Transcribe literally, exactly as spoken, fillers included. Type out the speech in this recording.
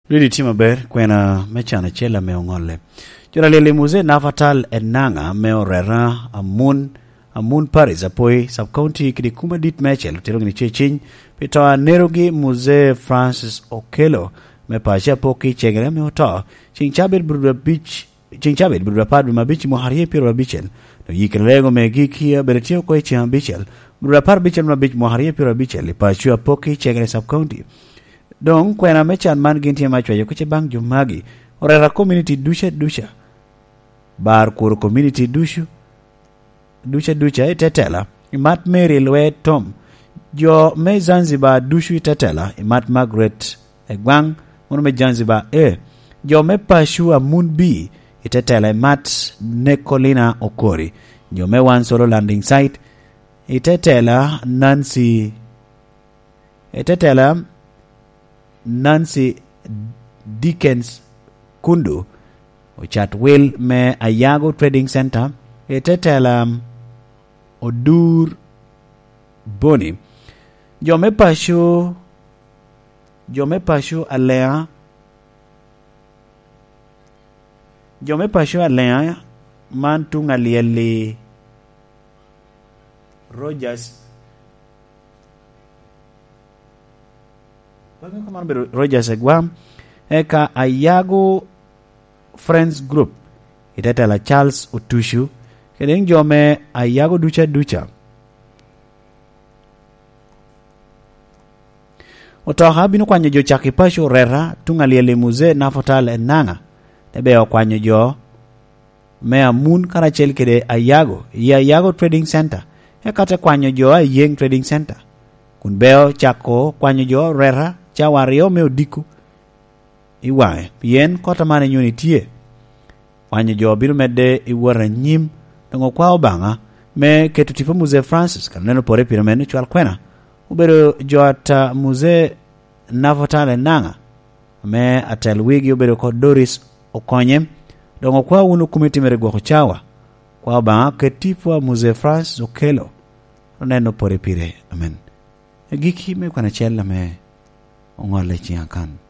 Ridi tye maber, kwena me can acel ame oŋolle. Jona lyel i Muzee Nafatal Enanga me oreta Amun, Amun Paris, Apoi, Sub-County, kede kum adit meicel otero gini tye ciny pi to anerogi Muzee Francis Okello me paco Apok i Cegere ame oto, ceng cabit bur abic, ceng cabit bur apar dwe me abic mwaka aryo pyero abicel. Dok yikere lego me giki abedo tye oko i ceng abicel, bur apar abicel me abic mwaka aryo pyero abicel i paco Apok i Cegere Sub-County. Doŋ kwena me can man gin tye me acwayo kuc baŋ jo magi, oreta community duca duca, bar kuro community ducu, duca duca i tetela, i mat Mary Lwe Tom, jo me Zanzibar ducu i tetela, i mat Margaret Egwaŋ, mano me Zanzibar A, jo me paco Amun B i tetela, i mat Nekolina Okori, jo me Wan Solo Landing Site i tetela, Nancy Etetela Nancy Dickens Kundu, ocat wil me Ayago Trading Center, Etetela Odur Boni, jo me paco, jo me paco Alea, jo me paco Alea man tuŋ alyel-li, Rogers, man obedo Rogers Egwam, eka Ayago Friends Group, i tetela Charles Otucu, kede jo me Ayago duca duca. Otoka bino kwanyo jo cak i paco oreta tuŋ alyel i Muzee Nafotal Enanga, te ber okwanyo jo me Amun karacel kede Ayago i Ayago Trading Center, eka te kwanyo jo a Yeng Trading Center, kun beo cako kwanyo jo oreta cawa aryo me odiko i waŋe, pien kot aman inyoni tye. Kwanyo jo bino medde i wot anyim, doŋ okwao Obaŋa me keto tipo Muzee Francis, kan oneno pore pire meno cwal kwena. Obedo jo ata Muzee Nafotal Enanga, ame atel wigi obedo oko Doris Okonye, doŋ okwao wunu komiti mere gwoko cawa. Kwa Obaŋa ket tipo a Muzee Francis Okello, oneno pore pire. Amen. Agikki me kwan acel ame oŋolle i ciŋ akan.